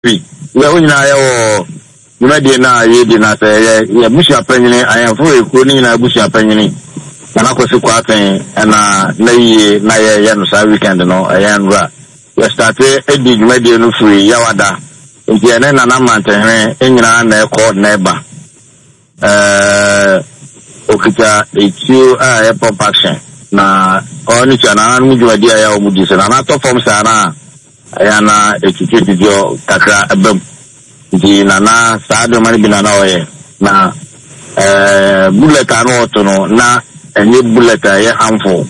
Bi, yɛ wo nyinaa yɛ wɔ dwumadie no a yɛredi no ase. Yɛ yɛ abusua panyini, ahemfo ekuo no nyinaa abusua panyini, Nana Kwasi Kwarteng ɛna n'ayie na yɛyɛ no saa weekend no, ɛyɛ nwura. Yɛ starte di dwumadie no firi Yawada, nti yɛne Nana Mmerantehene nyinaa na ɛkɔ na ɛba. Ɛɛ, okita etuo a ɛyɛ pump action, na ɔno tua nananom dwumadie a ɛyɛ a wɔn di so. Nana tɔ fam saa no a, Ɛyɛ a na ɛtwitwatwitwa kakra ba mu. Nti na na saa nneɛma no bi na na ɔyɛ. Na ɛɛ bullet a na ɔto no, na ɛnyɛ bullet a ɛyɛ harmful.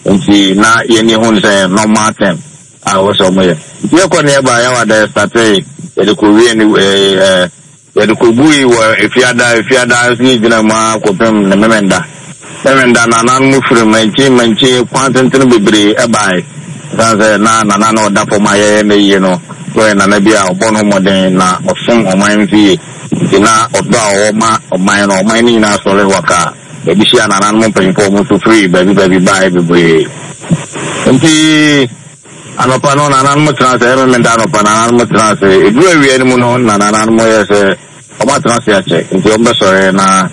Nti na yɛn ani hu no sɛ ɛyɛ normal thing a ɛwɔ sɛ wɔyɛ. Nti yɛkɔ ne yɛba yɛwɔ da yɛstartee, yɛde kɔwie ne ɛɛ Yɛde kogui wɔ Efiada, Efiada nso yɛgyina mu ara kɔpem ne Memenda. Memenda nananom firi mankyin mankyin kwan tentene bebree bae. Ɛsiane sɛ na nana no a ɔda fam a yɛyɛ no ayie no nso yɛ nana bi a ɔbɔ ne ho mmɔden na ɔsom ɔman nso yie nti na ɔdɔ a ɔwɔ ma ɔman no, ɔman no nyinaa sɔre wakaa. Yɛde hyiaa nananom mpanyimfoɔ a wɔn nso firi baabi baabi baeɛ bebree. Nti. Anɔpa no, nananom tena ase. Ɛyɛ Memenda anɔpa, nananom tena ase. Ɛduru awia no mu no, na nananom yɛ sɛ wɔatena ase akyɛ, nti wɔbɛsɔre na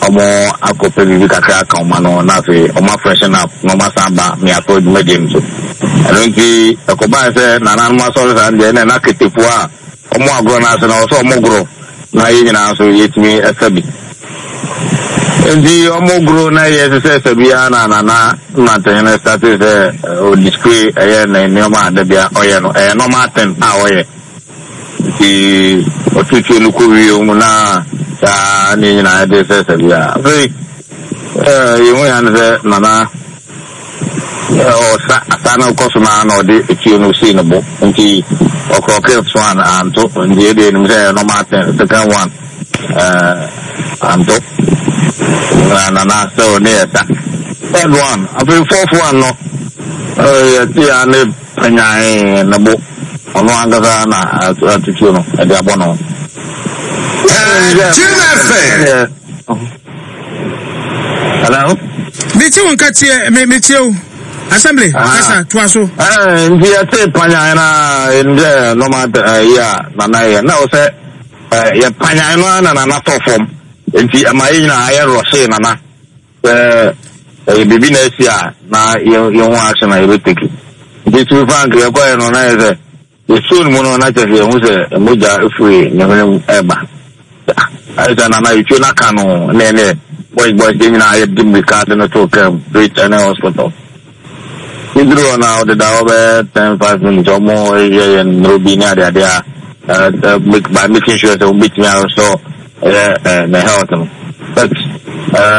wɔakɔpɛ biribi kakra aka wɔn ano, na afei wɔafreshen up na wɔasan aba mmeafoɔ dwumadie no so. Ɛno nti, ɛkɔbaeɛ sɛ nananom asɔre saa no deɛ, ɛnna na ketefoɔ a wɔn agorɔ no ase no, ɛwɔ sɛ wɔgoro na yɛn nyinaa nso yɛtumi sa bi. Nti wɔn goro na yɛ sɛ sɛ biara na Nana Mmerantehene startee sɛ o display ɛyɛ ne nneɛma a dabia ɔyɛ no, ɛyɛ normal thing a ɔyɛ. Nti ɔtutuo no kɔ wie mu na saa ne nyinaa de sɛ sɛ biara. Afei yɛhu ya no sɛ Nana Ɔsa asa no kɔ so no ara na ɔde etuo no sii ne bo nti ɔkrɔkee so an anto nti yɛde yɛnim sɛ ɛyɛ normal thing second one ɛɛ anto na nana still ne yɛ sa third one afei fourth one no ɛɛ yɛte ya ne panyan ne bo ɔno ankasa na atutuo no ɛde abɔ no. Ɛɛ Jim FM. Hello. Mete wo nka tie me metie wo. Assembly ah. kasa toa so. Eh, nti yɛte panyan na ɛnim sɛ nɔma yi a nana yɛ na wɔ sɛ yɛ panyan no ara na nana tɔ fam nti ɛma yɛ nyinaa ayɛ rɔhyee nana sɛ ɛyɛ biribi na asi a na yɛhu action a yɛbɛteki nti to be frank yɛkɔɛ no na yɛ sɛ Yɛsuo no mu no, na kyerɛ sɛ yɛhu sɛ mogya firi ne hwene mu reba. Ayɛ sɛ Nana etuo no aka no na ɛne boys boys yɛn nyinaa yɛde mmirika de no too kaa mu straight ɛne hospital. Yɛduru hɔ na ɔdeda hɔ bɛyɛ ten five minutes wɔn yɛ yɛn nnuro bi ne adeade a make by making sure sɛ wɔn bɛtumi arestore ɛyɛ ne health no. But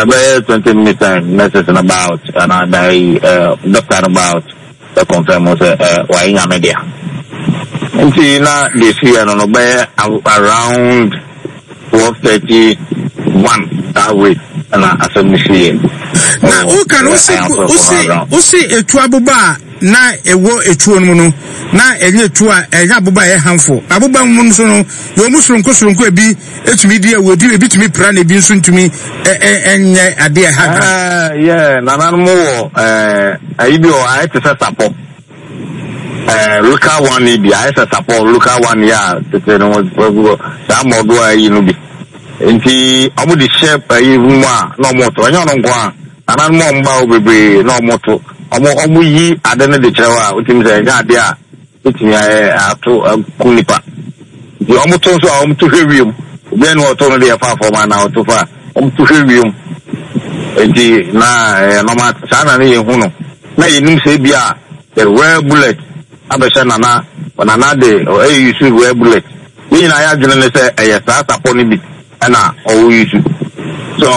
bɛyɛ 20 minutes time nurses no ba out anaa doctor no ba out. Bɛ confirm sɛ eh wayɛ Nyame dea. Nti na deɛ ɛsiiɛ no no bɛyɛ around 12:31 that way ɛna asɛm no siiɛ. Na woka no wose wose wose etu aboba a na ɛwɔ etuo no mu no na ɛnyɛ etuo a ɛnyɛ aboba a ɛyɛ harmful. Aboba mu nso no yɛ wɔn soronko soronko ebi etumi di awu ebi ebi tumi pira na ebi nso ntumi ɛnyɛ adeɛ ɛha dra. Ɛɛ yɛ nananom wɔ ɛɛ ayi bi wɔ ayɛ te sɛ sapɔ ɛɛ local one yi bi ayɛ sɛ sapɔ local one yi a tete no wɔ saa mɔdoa ayi no bi nti wɔn de hyɛ ayi mu a na wɔn to ɛnyɛ ɔno nko a nananom a wɔn ba hɔ bebree na wɔn to wɔn wɔn yi ade no de kyerɛ hɔ a wotumi sɛ ɛnyɛ adeɛ a. Betumi ayɛ ato aku nipa. Nti wɔn to nso a wɔn to hwɛ wiem. Obiara ni ɔto no deɛ fa fam anaa ɔto fa wɔn to hwɛ wiem. Nti na ɛyɛ nɔma saa na ne yɛn hu no. Na yɛn nim sɛ ebi a the rare bullet abɛhyɛ nana nana de ɛyɛ use rare bullet. Yɛn nyinaa yɛ adwene ne sɛ ɛyɛ saa sapɔ no bi. Ɛna ɔwɔ yi su. So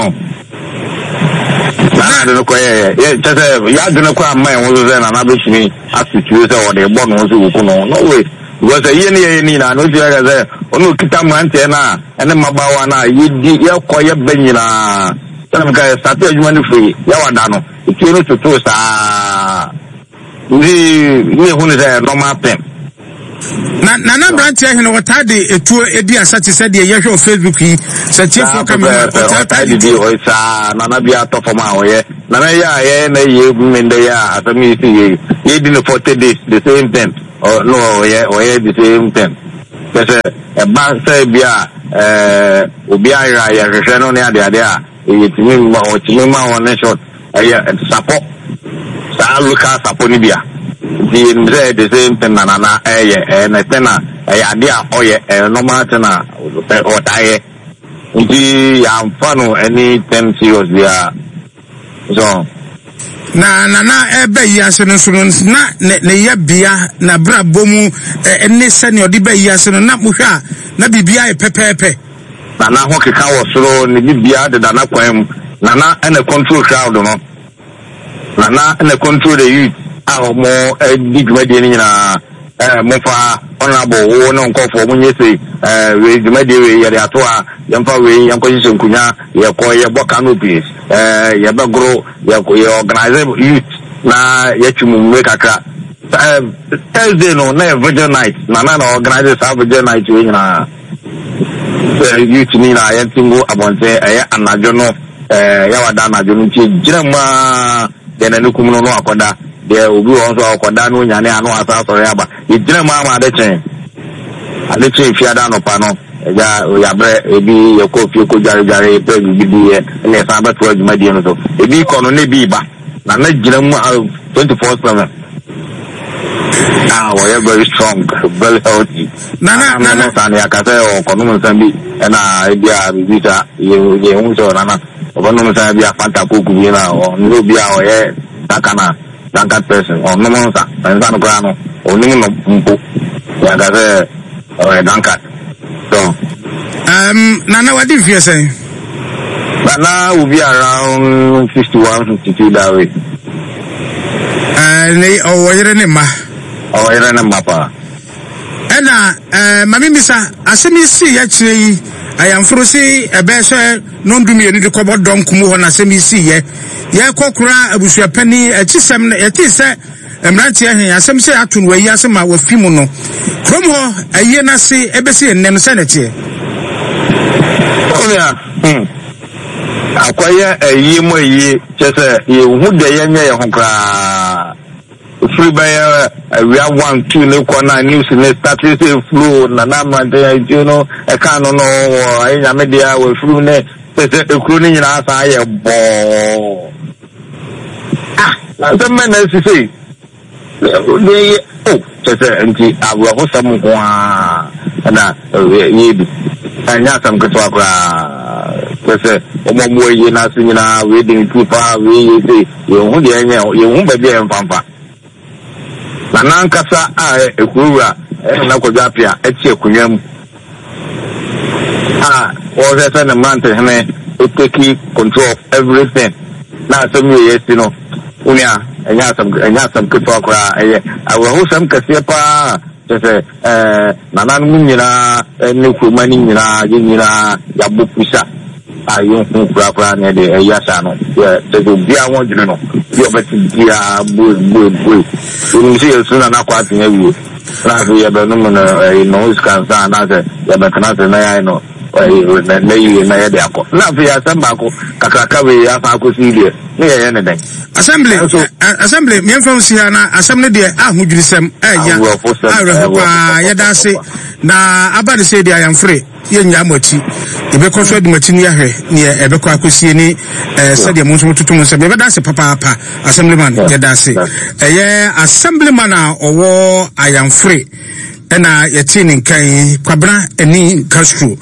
saa na ade no kɔyɛeɛ. Yɛ kyɛ sɛ yɛadwene koraa mma yɛn ho so sɛ Nana bɛtumi ato tuo sɛ ɔde rebɔ ne ho sɛ wɔku no. No way. Because ɛyie ne yɛyɛ ne nyinaa no wotumi aka sɛ ɔne ɔkita mmeranteɛ no a ɛne mmabaawa no a yɛdi yɛkɔ yɛba nyinaa. Sɛdeɛ meka yɛ starte adwuma no firi yɛwada no etuo no totoo saa. Nti ne yɛhu no sɛ normal thing. Na nana mmeranteɛ hene ɔtaa de etuo edi asa te sɛ deɛ yɛhwɛ wɔ Facebook yi sɛ tiefoɔ ka mi ho ɔtaa taa de tuo. Saa nana bi atɔ fam a ɔyɛ nana yɛ a yɛyɛ na yɛ mmenda yɛ a asɛm yi si yɛ yɛdi no 40 days the same thing no ɔyɛ ɔyɛ the same thing. Kyerɛ sɛ ɛba sɛ bi a ɛɛ obi ayera yɛhwehwɛ no ne adeade a yɛtumi ma ɔtumi ma wɔn ne short ɛyɛ sapɔ saa local sapɔ no bi a nti yɛnim sɛ ɛyɛ the same thing na nana ɛyɛ ɛyɛ ne thing a ɛyɛ adeɛ a ɔyɛ ɛyɛ normal thing a ɔtaa yɛ nti yɛamfa no anything serious biara. So. Na Nana ɛreba yi ase no nso no, na ne ne yɛbea, n'abrabɔ mu ne sɛnea ɔde ba yi ase no, na mohwɛ a, na biribiara yɛ pɛpɛɛpɛ. Nana ho keka wɔ soro, ne biribiara deda n'akwan mu. Nana na control crowd no. Nana na control the youth a wɔn di dwumadie no nyinaa. Eh, momfa honorable wo ne nkɔfoɔ monyɛ sei, eh, wei dwumadie wei yɛde ato ha, yɛmfa wei yɛnkɔhyehyɛ nkonwa, yɛkɔ yɛbɔ canopies, eh, yɛbɛgoro, yɛ, yɛ organize youth na yɛtwe mu mmire kakra. Eh, Thursday no na yɛ vigil night, na na na organize saa vigil night wei nyinaa. Sɛ youth no nyinaa yɛnte ngu abɔnten, ɛyɛ anadwo no, eh, yɛwada anadwo no nti yɛgyina mu aa. Deɛ n'ani kum no no akɔda, deɛ obi wɔ hɔ nso a ɔkɔda na ɔnyane a na wasan asɔre aba. Yɛgyina mu ara ma ade kyee. Ade kyee Fiada anɔpa no, agya yɛabrɛ, ebi yɛkɔɔ fie kɔdwaredware, pɛɛ biribi diiɛ, ɛnna yɛsan bɛtoaa dwumadie no so. Ebi rekɔ no na ebi reba. Na na gyina mu ara 24/7. A wɔyɛ very strong, very healthy. Nana, nana. Nana saa no yɛaka sɛ ɔkɔnom nsa bi ɛna ebi a biribi saa yɛhu sɛ nana. Ɔbɛnom nsa bi a Fanta Coke bi na ɔnyɛ obi a ɔyɛ that kind of drunkard person. Ɔnnom nsa. Na nsa no koraa no, ɔnnim nom mpo. Yɛanka sɛ ɔyɛ drunkard. So. Um, Nana wadi mfeɛ sɛn? Nana will be around 51, 52 that way. Uh, ne ɔwɔ yere ne mma. Ɔwɔ yere ne mma paa. Ɛna eh, ma memmisa, asɛm yi sii akyire yi, ayamforo se ɛbɛyɛ sɛ nɔndu mmienu de kɔbɔ dɔnko mu hɔ na asɛm yi siiɛ. Yɛkɔ kora abusuapanin akyisɛm no, yɛtee sɛ mmeranteɛ he asɛm sɛ ato no ayi ase ma wafi mu no. Kurom hɔ ayie no ase ɛbɛsi nnɛ no sɛ na ɛteɛ. Onua, hmm, akɔyɛ ayie mu ayie, kyerɛ sɛ yɛnhu deɛ yɛnyɛ yɛn ho koraa. Ɛfiri bɛyɛ awia one two ne kɔ na news ne starte sɛ flow na na mmerante nsuo no ɛka no no wɔ ayɛ nyame deɛ wɔ afirim ne sɛ sɛ ekuro no nyinaa san ayɛ bɔɔ ah na nsɛm bɛn na asi sei deɛ yɛ o kyɛ sɛ nti awerɛhosɛm nko ara na yɛdi ɛnyɛ asɛm ketewa koraa kyɛ sɛ wɔn a wɔwɔ ayie no ase nyinaa wei de ntu paa wei yɛ sei Yɛnhu deɛ ɛnyɛ, yɛnhu baabi a yɛmfa mfa. Na n'ankasa a ɛyɛ wura Nana Kwadwo Appiah te akonnwa mu a ɔrehwɛ sɛ ne mmerantehene take control of everything na asɛm wei asi no, wo nua, ɛnyɛ asɛm, ɛnyɛ asɛm ketewa koraa, ɛyɛ awerɛhosɛm kɛseɛ paa kyerɛ sɛ ɛɛ nananom nyinaa ne kuroma no nyinaa, yɛn nyinaa yɛabɔ pusa. a yɛnhu korakora ne ɛde ɛyi ahyɛ ano yɛ kyɛ sɛ obiara ho adwene no bi a ɔbɛte biara bue bue bue yɛnim sɛ yɛsu na nakɔ atena awie na afei yɛbɛnom no ɛyi no sika nsa anaasɛ yɛbɛtena ase na yɛayɛ no ɛyi na yie na yɛde akɔ na afei asɛm baako kakraka wei asan akɔsi deɛ ne yɛyɛ ne dɛn. Assembly assembly mmiɛnfa nsi ha na asɛm no deɛ ahodwirisɛm ɛɛya awerɛho paa yɛda ase na aba ne sɛ deɛ ayamfore. Yɛnnyaa mo akyi. Yɛbɛkɔ so adi mo akyi na yɛahwɛ neɛ ɛbɛkɔ akɔsie ne eh, sɛdeɛ mo nso mototo mo nsɛm. Yɛbɛda ase papaapa. Assemblyman, yɛda ase. Ɛyɛ Assemblyman a ɔwɔ Ayamfore ɛna yɛtee ne nka yi, Kwabena Ani Castro.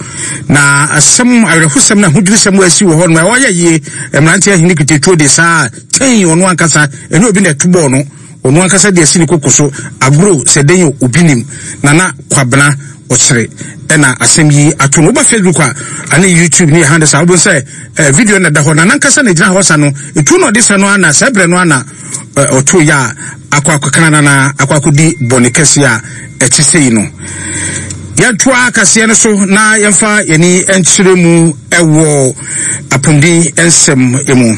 Na asɛm awerɛhosɛm na ahodwirisɛm a asi wɔ hɔ no, ɛhɔ yɛ yie. Mmeranteɛ ahene kutetuo de saa tɛn ɔno ankasa, ɛnyɛ obi na ɛto bɔɔ no. Ɔno ankasa de asi ne koko so agoro sɛ dɛn o, obi nim. Nana Kwabena Ɔkyere ɛna asɛm yi ato no. Woba Facebook a ane YouTube ne yɛ handles a wobɛhu sɛ eh, video no na ɛda hɔ. Nana ankasa na ɛgyina hɔ sa no. Etuo na ɔde sa no ana saa berɛ no ana eh, ɔto yɛ a akɔ akɔkana nana akɔ akɔdi bɔne kɛseɛ a ɛte sei no. Yɛntoa kaseɛ no so na yɛmfa yɛni nkyerɛ mu ɛwɔ apɔmuden nsɛm mu.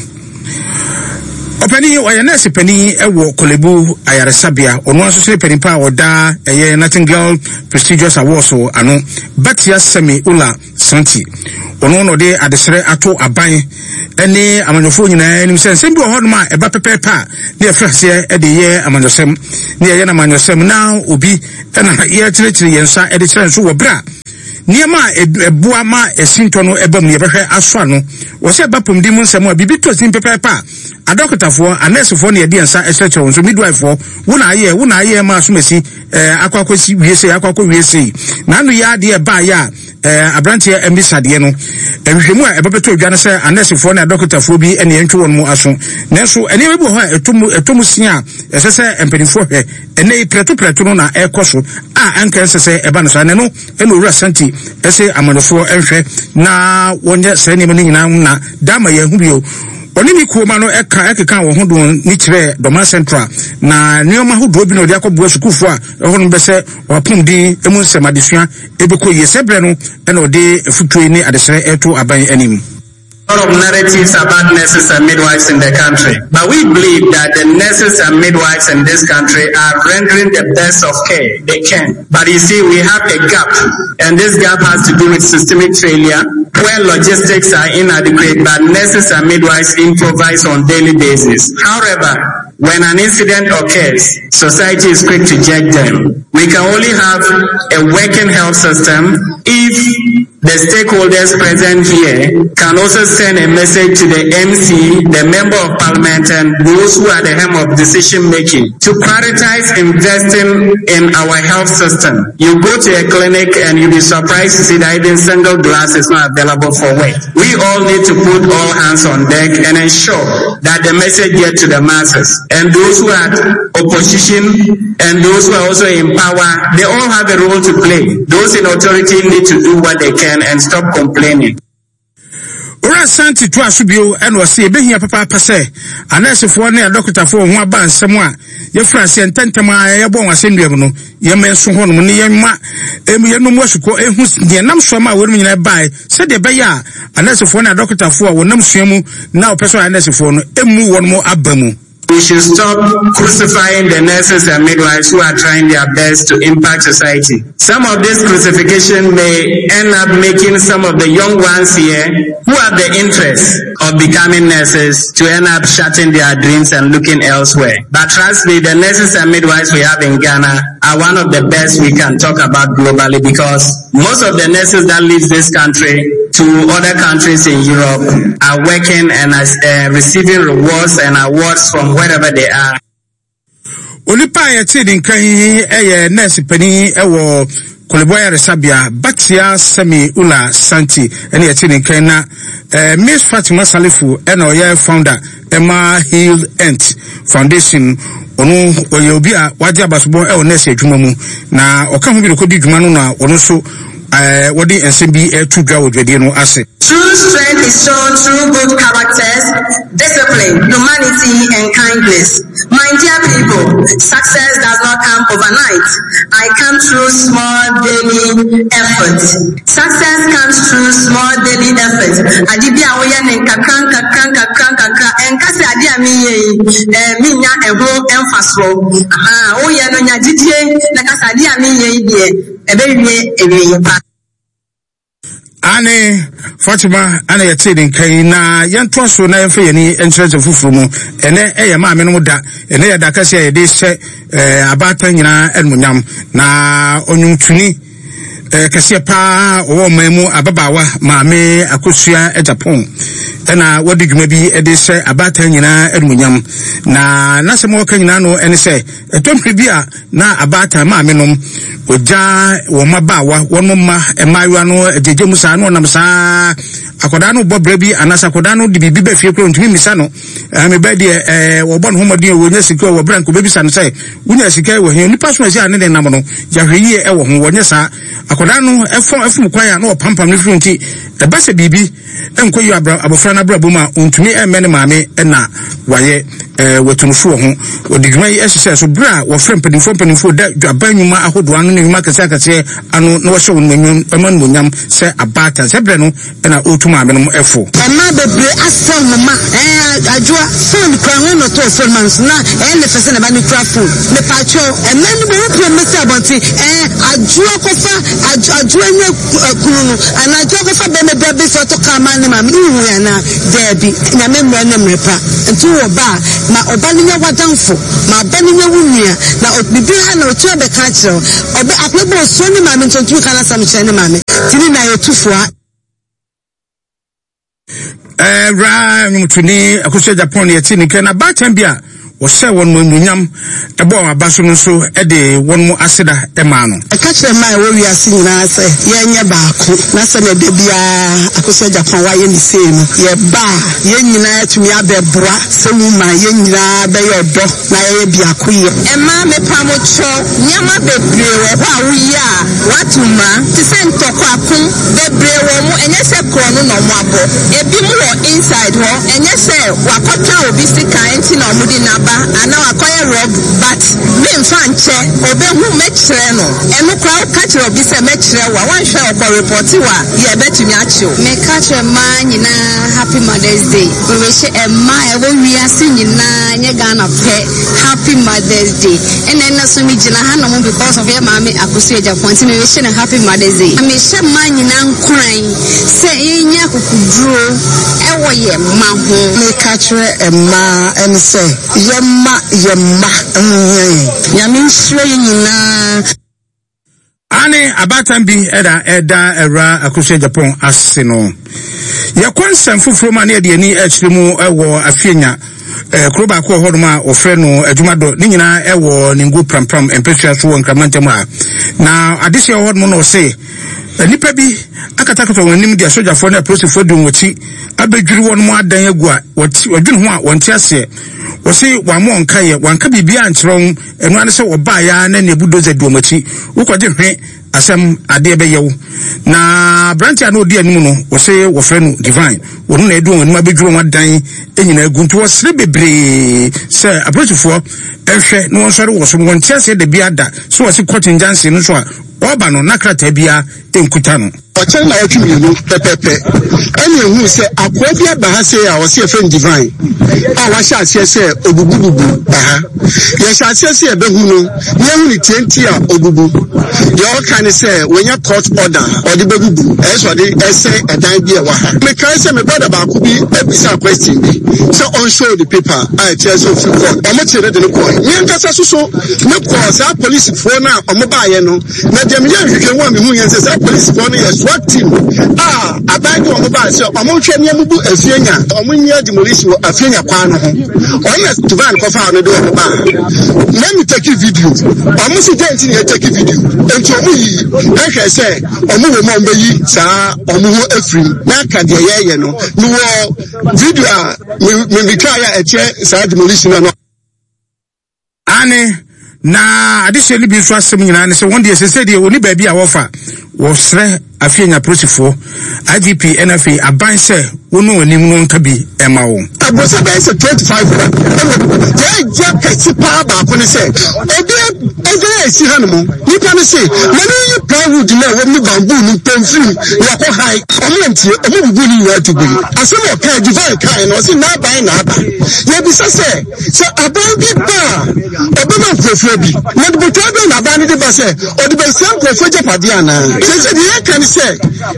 Ɔpanin, ɔyɛ nɛɛse panin wɔ Korle-Bu Ayaresabea. Ɔno ara nso so ne panin pa a ɔda ɛyɛ Nightingale Prestigious Awards ano. Batia Semi Ula. Asante. Ɔno na ɔde adesrɛ ato aban ne amanyɔfoɔ nyinaa anim sɛ nsɛm bi wɔ hɔnom a ɛba pɛpɛɛpɛ a ne yɛfiri aseɛ de yɛ amanyɔsɛm ne yɛyɛ no amanyɔsɛm na obi na yɛkyerɛkyerɛ yɛn nsa de kyerɛ nso wɔ berɛ a nneɛma a ɛboa ma ɛsintɔ no ɛba mu yɛbɛhwɛ asɔ ano wɔ sɛ ɛba pɔmuden mu nsɛm a biribi tɔ sin pɛpɛɛpɛ a adɔkotafoɔ anɛɛsefoɔ na yɛde yɛn nsa kyerɛkyerɛ wɔn so midwife-foɔ wo na ayɛ wo na ayɛ ma asomasi ɛɛ akɔ akɔsi wie sei akɔ akɔ wie sei na ano yɛ adeɛ ɛbaayɛ a ɛɛ aberanteɛ mmisa deɛ no nhwehwɛmu a ɛbɛbɛtɔ odwa no sɛ anɛɛsefoɔ ne adɔkotafoɔ bi ɛna yɛntwe wɔn mu aso nanso nneɛma bi wɔ hɔ a ɛtɔ mu ɛtɔ mu sin a ɛsɛ sɛ mpanimfoɔ hwɛ ɛnɛ yi prɛto prɛto no na ɛrekɔ so a anka ɛnsɛ sɛ ɛba no saa na ɛno ɛna owura Santi ɛsɛ amanfoɔ nhwɛ na wɔnyɛ saa nneɛma no nyinaa na dama yɛn ho bio. Ɔne ne kuo ma no ɛka ɛkeka wɔn ho don ne kyerɛ Dɔma Central na nneɛma ahodoɔ bi na ɔde akɔboa sukuufoɔ a ɛhɔ nom bɛsɛ wɔapɔmuden mu nsɛm adesua ɛbɛkɔ yie. Sɛ berɛ no ɛna ɔde afutuo ne adesrɛ ɛto aban anim. Lot of narratives about nurses and midwives in the country. But we believe that the nurses and midwives in this country are rendering the best of care they can. But you see, we have a gap, and this gap has to do with systemic failure, where logistics are inadequate, but nurses and midwives improvise on daily basis. However, when an incident occurs, society is quick to judge them. We can only have a working health system if the stakeholders present here can also send a message to the MC, the Member of Parliament, and those who are the helm of decision making to prioritize investing in our health system. You go to a clinic and you'll be surprised to see that even single glass is not available for work. We all need to put all hands on deck and ensure that the message gets to the masses. And those who are opposition and those who are also in power, they all have a role to play. Those in authority need to do what they can and stop complaining. Owura Santi toa so bio ɛna ɔse ebehia papaapa sɛ anɛɛsefoɔ ne adɔkotafoɔ ho aba nsɛm a yɛfiri aseɛ ntɛntɛm a yɛbɔ wɔn asɛnnua mu no yɛma nso hɔnom ne yɛma yɛnom asukɔ ehu deɛ nam so ama a wɔnom nyinaa bae sɛdeɛ ɛbɛyɛ a anɛɛsefoɔ ne adɔkotafoɔ a wɔnam sua mu na wɔpɛ sɛ ɔyɛ anɛɛsefoɔ no emu wɔn aba mu. We should stop crucifying the nurses and midwives who are trying their best to impact society. Some of this crucifixion may end up making some of the young ones here who have the interest of becoming nurses to end up shutting their dreams and looking elsewhere. But trust me, the nurses and midwives we have in Ghana are one of the best we can talk about globally, because most of the nurses that leave this country to other countries in Europe are working and are receiving rewards and awards from wherever they are. Onipa a yɛte ne nka yi yɛ nurse panin wɔ Korle Bu Ayaresabea, Batia Semi Ula Santi ɛna yɛte ne nkan na Miss Fatima Salifu ɛna ɔyɛ founder ɛma Heal Ent Foundation. Ɔno ɔyɛ obi a wagye abasobɔ ɛwɔ nurse adwuma mu na ɔka ho bi na ɔkɔdi dwuma no na ɔno nso wɔde nsɛm bi ɛto dwa wɔ dwadie no ase. True strength is shown through good characters, discipline, humanity, and kindness. My dear people, success does not come overnight. I come through small daily efforts. Success comes through small daily efforts. Ade bi a woyɛ ne nkakra nkakra nkakra nkakra, ɛnka sɛ ade a meyɛ yi, menya ɛho mfasoɔ. Aha, woyɛ no nya gyidie na ka sɛ ade a meyɛ yi deɛ, ɛbɛwie awieeɛ pa. Ane Fatima ana yɛtee ne nka yi na yɛntoa so na yɛmfa yɛni nkyerɛkyerɛ foforɔ mu. Ɛnɛ ɛyɛ maame no da, ɛnɛ yɛ da kɛseɛ a yɛde hyɛ abaatan nyinaa animuonyam na ɔnwomtoni kɛseɛ paa ɔwɔ ɔman mu ababaawa maame Akosua Agyapong ɛna wɔde dwuma bi de hyɛ abaatan nyinaa animuonyam na n'asɛm a ɔka nyinaa no ɛne sɛ ɛtɔ mmere bi a na abaatan maame nom wɔgya wɔn mmabaawa wɔn mma mmaayewa no agyegye mu saa na ɔnam saa akwadaa no bɔ brɛ bi anaasɛ akwadaa no de biribi bɛ fie kura ntumi mmisa no ɛɛ mebɛ deɛ ɛɛ wɔbɔ ne ho mmɔden a wɔnya sika wɔ brɛ nko bɛbisa no sɛ wonya sika wɔ he nipa so ɛsɛ a ne ne nam no yɛahwɛ yie ɛwɔ ho wɔnyɛ saa akwadaa no ɛfɔ ɛfom kwan a na ɔpampam no firi nti ɛba sɛ biribi nkɔ yi abɔfra no abrabɔ mu a ɔntumi ɛmmɛ ne maame ɛna wayɛ. eh, wɔatunufo wɔ ho. Wɔde dwuma yi hyehyɛɛ so bere a wɔfrɛ mpanimfoɔ mpanimfoɔ da dwaban nnwuma ahodoɔ ano ne nnwuma akɛseɛ akɛseɛ ano na wɔhyɛ wɔn animuonyam sɛ abaatan. Sɛ berɛ no na ɔretu maamenom fo. Mmaa bebree asɛe wɔn mma. Ɛɛ Adwoa, phone kura hwan na ɔtɔɔ phone ma no so na ɛyɛ ne fɛ sɛ ne ba no kura phone. Mepakyɛw, mmaa no bi wɔn pue mmɛsi abɔnten. Ɛɛ Adwoa kɔfa Adwoa nya kunu no anaa Adwoa kɔfa bɛrima bi abɛsi ɔtɔ kaa ma ne maame no wohui anaa? Daabi. Nyame mmerɛ ne mmerɛ pa. Nti wowɔ ba a, ma ɔba no nyɛ w'adamfo, ma ɔba no nyɛ wo nua, na biribi ha na ɔtumi abɛka akyerɛ wo. Ɔbɛ akwadaa bi wɔ osuro ne maame nti ɔntumi ka n'asɛm nkyerɛ ne maame. Nti ne nyinaa yɛtu fo a. Ɛwura nnwomtoni Akosua Japan yɛte ne nka na baatan bi a wɔhyɛ wɔn mu anuonyam ɛbɔ wɔn aba so no nso de wɔn mu aseda maa no. Ɛka kyerɛ mmaa a ɛwɔ wiase nyinaa sɛ yɛnyɛ baako na sɛnea da biara Akosua Japan wayɛ ne sei no, yɛba a yɛn nyinaa atumi abɛboa sɛ woman yɛn nyinaa bɛyɛ ɔdɔ na yɛyɛ biako yɛ. Mmaa mepa mo kyɛw, nneɛma bebree wɔ hɔ a woyɛ a woato mmara, te sɛ ntɔkwa, ko, bebree wɔ mo, ɛnyɛ sɛ korɔno na ɔmo abɔ, ebi mo wɔ inside hɔ, ɛnyɛ sɛ wakɔtwa obi sekan nti na ɔmo de no aba anaa wakɔyɛ robbery, but me nfa nkyɛ, obehu mɛkyerɛ no, ɛno koraa woka kyerɛ obi sɛ mɛkyerɛ wo a, wanhwɛ a ɔkɔ report wo a, yɛbɛtumi akye wo. Meka kyerɛ mmaa nyinaa happy mother's day. Merehyɛ mmaa a ɛwɔ wiase nyinaa nyɛ Ghana pɛ happy mother's day. Ɛna ɛna so me gyina ha nom because of yɛ maame Akosua Agyapong nti merehyɛ no happy mother's day. Mehyɛ mmaa nyinaa nkuran sɛ yɛnyɛ akokoduro ɛwɔ yɛ mma ho. Meka kyerɛ mmaa ɛne sɛ yɛmma yɛn mma ho hia yɛn. Nyame nhyira yɛn nyinaa. Aane, abaatan bi da ɛda Awuraa Akosua Agyapong ase no. Yɛkɔ nsɛm foforɔ mu a ne yɛde ani akyerɛ mu wɔ Afienya, eh, kuro baako wɔ hɔnom a wɔfrɛ no Adwumadɔ. Ne nyinaa ɛwɔ Ningo Prampram mpasua so wɔ Nkraman ntam ha. Na adehyeɛ wɔ hɔnom na ɔse nnipa bi akatakata wɔn anim de asogyafoɔ ne apolisifoɔ di wɔn akyi abɛdwiri wɔn mu adan agu a wɔdwene ho a wɔnte aseɛ. Wɔse wɔammɔ wɔn nkaeɛ, wɔanka biribiara ankyerɛ wɔn. Ɛno ara ne sɛ wɔbaeɛ ara na nea bulldozer di wɔn akyi. Wokɔgye hwe asɛm adeɛ bɛyɛ wo. Na aberanteɛ a na ɔdi anim no, wɔse wɔfrɛ no Divine. Wɔno na ɛdi wɔn anim abɛdwiri wɔn adan nyinaa agu. Nti wɔsrɛ bebree sɛ apolisifoɔ nhwɛ na wɔnsɔre wɔ so. Wɔnte aseɛ da biara da sɛ wɔse court injunction no nso a ɔreba no na krataa biara nkuta no. Ɔkyɛn nnawɔtwe mmienu pɛpɛpɛ ɛna ehuu sɛ akoa bi aba ha sei a ɔse yɛfrɛ no Divine a wahyɛ aseɛ sɛ obubububu ba ha. Yɛhyɛ aseɛ sɛ yɛbɛhu no na yɛhu ne tie nti a obubu. Deɛ ɔka ne sɛ wanya court order a ɔde bɛbubu, ɛyɛ sɛ ɔde ɛsɛe ɛdan bi a ɛwɔ ha. Mekae sɛ me brother baako bi bisaa question bi sɛ ɔnshow ne paper a ɛkyerɛ sɛ ofiri court. Wɔkyee no de no kɔe. Me ankasa soso mekɔɔ saa polisifoɔ no a wɔbaeɛ no. Na deɛ meyɛɛ nhwehwɛmu a mehuiɛ sɛ saa polisifoɔ no yɛ SWAT team a aban de wɔn baa sɛ wɔnhwɛ nea mubu Afienya, wɔn nyɛ demolition wɔ Afienya kwan no ho. Wɔn na Duvan kɔfaa no de wɔn baa. Na me take video. Wɔn si dɛn nti na yɛ take video. Nti wɔn yi ɛhwɛ sɛ wɔn wɔ mu a wɔn bɛyi saa wɔn ho afiri mu. Na aka deɛ yɛyɛ no. Mewɔ video a me me twa yɛ a ɛkyerɛ saa demolition no. Aane, na adehyeɛ no bi nso asɛm nyinaa ne sɛ wɔn deɛ sese deɛ wɔni baabi a wɔfa, wɔsrɛ afei anya polisifoɔ, IGP ɛna afei aban sɛ wɔnu wɔn anim na wɔnka bi ɛma wɔn. Aborosa bɛyɛ sɛ 25 hɔ ɛna deɛ ɛgya kɛse paa baako ne sɛ obi ɛdan a ɛsi ha no mu nipa no se ma ne yi plywood no a ɛwɔ mu ne bamboo no mpɛ mfiri mu na wakɔ han ɔmo antie ɔmo bubu ne nyinaa to gu mu asɛm a ɔkae divine kae no ɔse n'aban na aba yɛbisa sɛ Sɛ aban bi ba a, ɔbɛma nkurɔfoɔ bi. Na botae bɛn na aban no de ba sɛ ɔde bɛsɛe nkurɔfoɔ agyapadeɛ anaa? Seesei deɛ yɛka ne sɛ,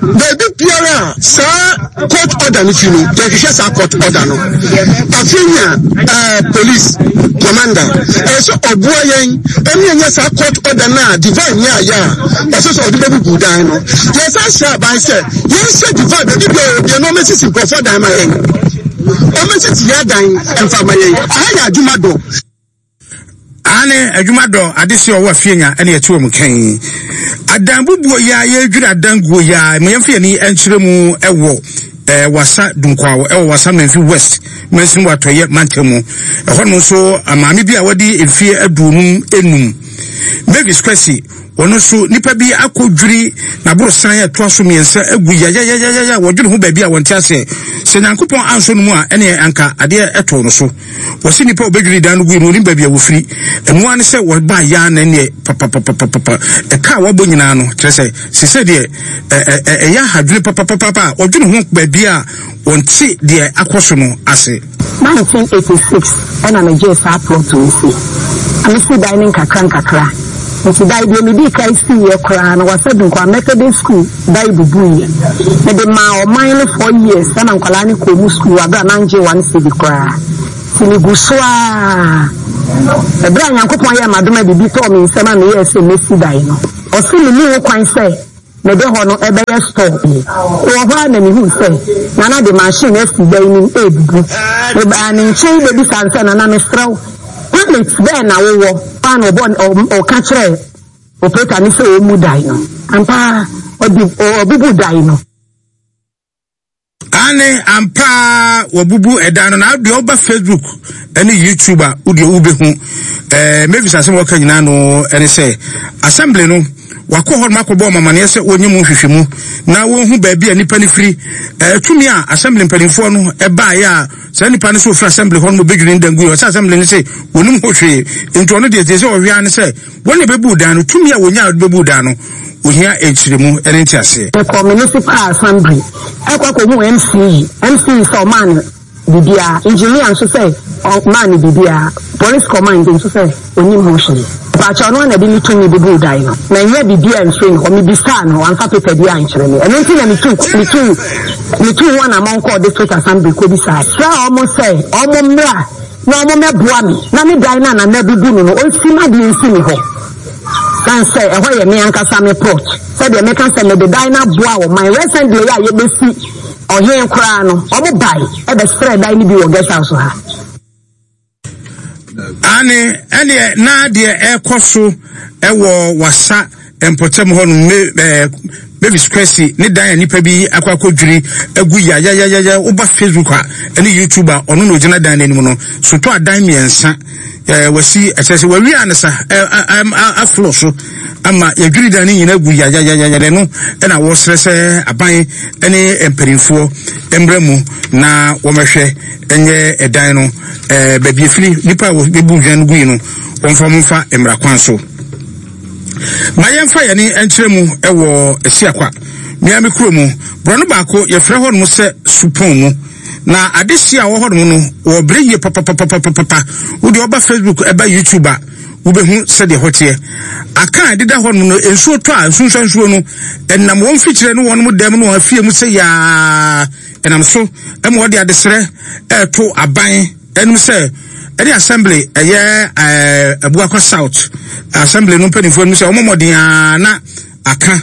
baabi biara a saa court order no fi no, yɛhwehwɛ saa court order no. Afei nya eh, police commander, ɛyɛ sɛ ɔboa yɛn ɛne yɛnya saa court order no a divine nyaayɛ a ɔsɛ sɛ ɔde bɛbubu dan no. Yɛsan hyɛ aban sɛ yɛnhyɛ divine baabi biara ɔbia na ɔmɛsisi nkurɔfoɔ dan ma yɛn. Ɔmɛsisi yɛ adan mfa ma yɛn. Aha yɛ adwuma dɔ. Aane, adwuma dɔ, adehyeɛ ɔwɔ afie nya ɛne ɛte wɔn kɛn. Adan bubuo yi a yɛredwiri adan guo yi a, ma yɛmfa yɛn ani nkyerɛ mu ɛwɔ eh, Wasa Dunkwaw ɛwɔ Wasa Menfi West mansini wɔ Atɔeɛ mantam mu. Ɛhɔ nom nso, maame bi a wadi mfeɛ aduonum enum. Mavis Kwasi, ɔno nso nipa bi akɔdwiri n'aborosan a ɛtoa so mmiɛnsa agu yayayayaya wɔdwene ho baabi a wɔnte aseɛ. Sɛ Nyankopɔn ansɔ no mu a ɛneɛ anka adeɛ ɛtoo no so. Wɔse nipa a ɔbɛdwiri dan no gui no ɔnim baabi a wɔfiri. Ɛno ara ne sɛ wɔbaa yaa na ɛneɛ papapapapapa ɛka a wɔabɔ nyinaa no kyerɛ sɛ sesɛ deɛ ɛyɛ ahadwene papapapa a wɔdwene ho baabi a wɔnte deɛ akɔ so no ase. 1986 ɛna megyee saa plot yi si. Na mesi dan no nkakra nkakra. Nti dan deɛ medii kan siiɛ koraa no Wassa Dunkwa Methodist School dan bubuiɛ. Mede maa ɔman no four years ɛna nkwadaa no kɔɔ mu school wɔ aberɛ a mangye one cedi koraa. Nti megu so ara. Ɛberɛ a Nyankopɔn yɛɛ m'adom a biribi tɔɔ me nsam a meyɛɛ sɛ mɛsi dan no, ɔse menni ho kwan sɛ Mede hɔ no ɛbɛyɛ store bi. Mewɔ hɔ ara na mehuu sɛ Nana de machine asi dan no mu rebubu. Mebaa ne nkyɛn bɛbisaa no sɛ, Nana mesrɛ wo, permit bɛn na wowɔ? Hɔ ara na ɔbɔ ɔka kyerɛɛ operator no sɛ ɔmmu dan no. Ampa ara, ɔde ɔbubuu dan no. Aane, ampa ara wɔabubu ɛdan no, na deɛ woba Facebook ne YouTube a wodeɛ wobɛhu. Ɛɛ Mavis asɛm a wɔka nyinaa no ɛne sɛ assembly no wakɔ hɔ nom akɔbɔ wɔn amaneɛ sɛ wɔnyɛ mu nhwehwɛmu na wɔnhu baabi a nipa no firi. Ɛɛ tumi a assembly mpanimfoɔ no ɛbaeɛ a saa nipa no sɛ ofiri assembly hɔ nom obɛdwiri ne dan gu yɛ ɔsɛ assembly no sɛ wɔnim ho hwee nti ɔno deɛ deɛ sɛ ɔhwɛ ara ne sɛ Wɔn na ɛbɛbuu dan no, tumi a wɔnyaa de bɛbuu dan no, wɔhia nkyerɛmu ne nteaseɛ. Mekɔɔ Municipal Assembly kɔ kɔhuu MCE, MCE sɛ ɔmaa no biribiara, Engineer nso sɛ ɔmaa no biribiara, Police Command nso sɛ ɔnnim ho hwee. Mpakyɛw ɔno ara na ɛde ne tumi bubuu dan no, mannya biribiara amfiri ne hɔ, mebisaa no, wamfa paper biara ankyerɛ me, ɛno nti na metuu metuu metuu ho anammɔn kɔɔ District Assembly kɔbisaa, srɛɛ wɔn sɛ wɔn mmra na wɔmmɛboa me na me dan no a Nana abubu no no, ɔnsi m'adeɛ nsi me hɔ. Sane sɛ ɛhɔ yɛ me ankasa me plot. Sɛdeɛ meka sɛ mede dan no aboa ɔman. Recently a yɛbɛsi ɔhen koraa no, wɔn bae bɛsrɛɛ dan no bi wɔ guest house ha. Aane, ɛneɛ na deɛ ɛrekɔ so wɔ wasa mpɔtam hɔ no, me, eh, Mavis Kwesi ne dan a nipa bi akɔ akɔdwiri agu yayayayaya. Woba Facebook a ɛne YouTube a, ɔno na ɔgyina dan no anim no. Sotɔ adan mmiɛnsa eh, wasi, ɛkyerɛ sɛ wawie a ne sa eh, aflo so ama yɛdwiri dan no nyinaa agu yayayayaya. Ɛno ɛna wɔsrɛ sɛ aban ne mpanimfoɔ mmra mu na wɔmɛhwɛ ɛnyɛ ɛdan no eh, baabi efiri nipa a wɔbɛbu dwan no gui no wɔmfa wɔn mfa mmara kwan so. Ma yɛmfa yɛn ani nkyerɛ mu wɔ Asiakwa, mmea me kuro mu. Borɔno baako, yɛfrɛ hɔnom sɛ Supɔn mu. Na adehye a wɔ hɔnom no, wɔbrɛ yie papapapapapa. Wo deɛ ɔba Facebook ɛba YouTube a, wobɛhu sɛdeɛ hɔ teɛ. Aka a ɛdeda hɔnom no, nsuo tɔ a, nsunsuansuo no, ɛnam wɔn mfikyire ne wɔn dɛm ne wɔn afie mu sɛ yaa. Ɛnam so ma wɔde adesrɛ ɛreto aban anim sɛ ɛne assembly ɛyɛ ɛɛ Abuakwa South assembly no mpanimfoɔ anim sɛ wɔn mmɔden ara na aka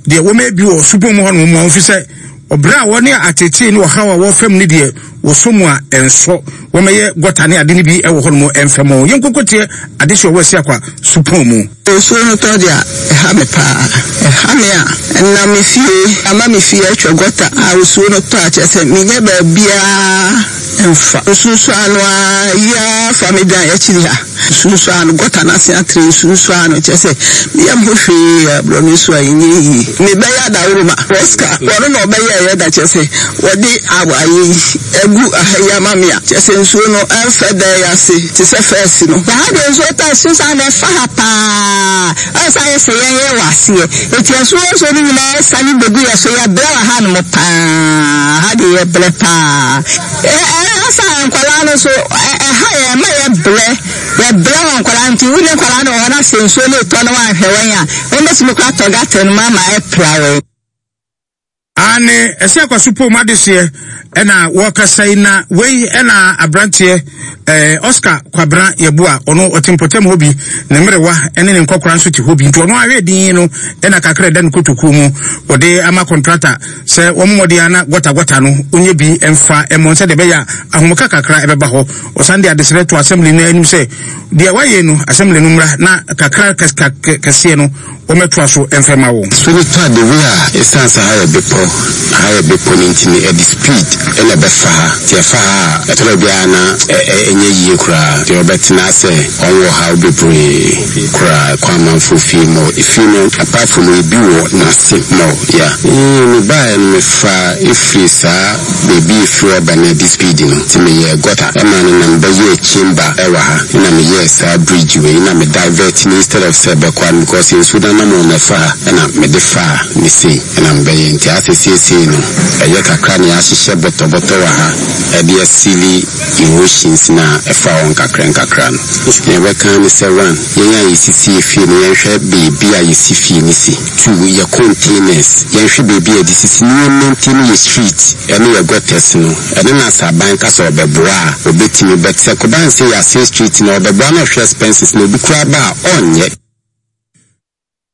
deɛ wɔn ebi wɔ supɔn mu hɔ nom wɔn fi sɛ ɔbrɛ a wɔne atetee ne ɔhaw a wɔfam ne deɛ wɔsɔ mu a ɛnsɔ wɔmɛyɛ gɔta ne ade no bi wɔ hɔ nom ɛmfam wɔn yɛn nkokoteɛ adehye ɔwɔ Asiakwa supɔn mu. Nsuo no tɔ deɛ a, ɛha me paa. Ɛha me a, ɛnam me fie, ama me fie atwa gɔta a nsuo no tɔ a, kyerɛ sɛ mennya baabiara mfa. Nsunsuano ara yi ara fa me dan akyiri ha. Nsunsuano, gɔta no ase atrɛ nsunsuano, kyerɛ sɛ me yam ho hwee a borɔno nsuo a ɛnyɛ yie. Mebɛyɛ adaworoma. Oscar, ɔno na ɔbɛyɛeɛ da, kyerɛ sɛ wɔde ayɛ yi agu aha yi ama me a, kyerɛ sɛ nsuo no ɛmfɛ dan yi ase te sɛ fɛɛse no. Na ha deɛ nsuo tɔ a, ɛsunsuan no ɛfa ha paa. Ɔyɛ sɛ ayɛ sɛ yɛn yɛwɔ aseɛ. Enti asuo nsuo no nyinaa sane bɛgu yɛn so. Yɛbrɛ wɔ hanom paa. Ha deɛ yɛbrɛ paa. Ɛha saa nkwadaa no nso, ɛha yɛn, ɛma yɛbrɛ. Yɛbrɛ wɔ nkwadaa nti. Wo ne nkwadaa no wɔ hɔ na sɛ nsuo no retɔ na woanhwɛ wɔn a, wɔbɛtumi koraa atɔ gutter no mu ama apira wɔn. Aane, ɛsɛ akwaso pom adehyeɛ ɛna wɔkasa yi na wei ɛna abranteɛ ɛɛ Oscar Kwabena Yeboah ɔno ɔte mpɔtam hɔ bi ne mmerewa ɛne ne nkɔkora nso te hɔ bi nti ɔno ahwɛ din no ɛna kakra ɛda ne kotokuo mu wɔde ama kɔntrata sɛ wɔn mmɔden ana gɔta gɔta no onye bi ɛmfa ɛmɔ sɛ deɛ ɛbɛyɛ a ahomka kakra ɛbɛba hɔ ɔsan de adesrɛ to assembly no anim sɛ deɛ wayɛ no assembly no mmra na kakra kɛseɛ no wɔmmɛtoa so mfa mma wo. Sɛ wotɔ ade wei a, esiane sɛ ha yɛ bepɔ. Aha yɛ bepɔ no nti no ɛde speed na ɛbɛfa ha. Nti ɛfa ha a, ɛtɔ da bi a na ɛnyɛ yie koraa. Nti ɔbɛtena sɛ ɔnwɔ haw bebree koraa kɔ amanfoɔ fie mɔ. Efie no apart from ebi wɔ n'ase mɔ yeah. Eeh me baeɛ no mefaa efiri saa baabi efiri hɔ ba no ɛde speed no nti meyɛɛ gutter ɛma no na mebɛyɛɛ chamber ɛwɔ ha ɛna meyɛɛ saa bridge wei na me divert no instead of sɛ ɛbɛkɔ ha no because nsuo no anamɔn na ɛfa ha ɛna mede faa ne sei. na mebɛyɛ nti asɛ seesei no ɛyɛ kakra na yɛahyehyɛ bɔtɔbɔtɔ wɔ ha ɛde asili erosions no a ɛfa hɔ nkakra nkakra no. Nea yɛbɛka ara ne sɛ one, yɛn a yɛsisi yɛ fie no yɛnhwɛ baabi a yɛsi fie no si, two, yɛ containers yɛnhwɛ baabi a yɛde sisi na yɛn maintain yɛ street ɛne yɛ gutters no, ɛno na sɛ aban ka sɛ ɔbɛboa a ɔbɛtumi but sɛ kɔba no sɛ yɛasɛe street no a ɔbɛboa na ɔhwɛ expenses no obi koraa ba a ɔnyɛ.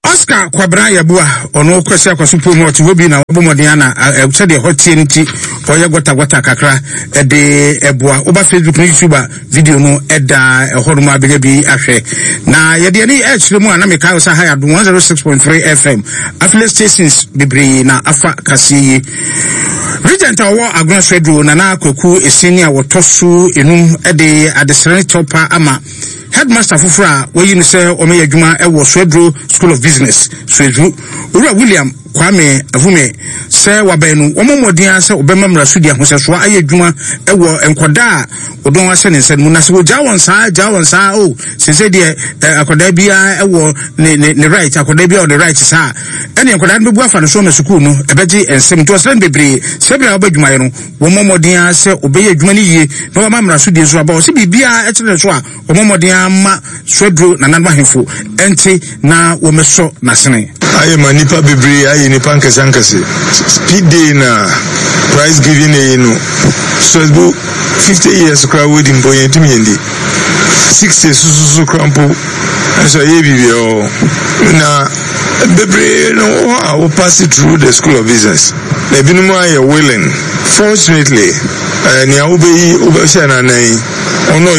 Oscar Kwabena Yeboah, ɔno Kwasi Akwaso Pom ɔte hɔ bi na wabɔ mmɔden ana sɛdeɛ ɛhɔ teɛ no nti ɔyɛ gɔtagɔta kakra ɛde ɛboa. Woba Facebook ne YouTube a video no ɛda ɛhɔ nom abɛnya bi ahwɛ. Na yɛde ani ɛkyerɛ mu a na meka sɛ ha yɛ Adom 106.3 FM affiliate stations bebree na afa kaseɛ yi. Regent a ɔwɔ Agona Swedru Nana Kwaku Eseni a wɔtɔ so enum de adesrɛ ne kyɛwpa ama Headmaster foforɔ a wɔayi no sɛ ɔmmɛyɛ adwuma wɔ Swedru School of Business, Swedru, Owura William Kwame Avume, sɛ wabɛn no, wɔmmɔ mmɔden ara sɛ wɔbɛma mmarasodi ahosɛsoɔ ayɛ adwuma wɔ nkwadaa a wɔdɔn ahyɛ ne nsa no mu. Na sɛ wɔgyaa wɔn saa, gyaa wɔn saa, o, oh, sese deɛ eh, akwadaa biara wɔ ne, ne, ne right, akwadaa biara wɔ ne right saa, ɛne nkwadaa no bɛbu afa no so ama sukuu no ɛbɛgye nsɛm. Nti ɔsrɛ no bebree sɛ berɛ a wɔbɛ adwumayɛ no, Wɔmmɔ mmɔden ara sɛ wɔbɛyɛ adwuma no yie na wɔama mmaraso die nso aba. Ɔse biribiara ɛkyerɛ ne so a, wɔmmɔ mmɔden ara mma Swedru nananom ahemfo nte na wɔmmɛsɔ n'asene. Ayɛ ma nnipa bebree ayɛ nnipa nkɛse ankɛse. Speed day na prize giving eyi no Swedru 50 years koraa wodi mpo yɛntumi yɛndi 60 sososo koraa mpo nso ɛyɛ biribi ɛwɔ na bebree no wɔ hɔ a wo pass through the school of business. Na ebinom ayɛ willing. Fortunately, eh, nea wobɛyi wobɛhyɛ no anan yi, ɔno.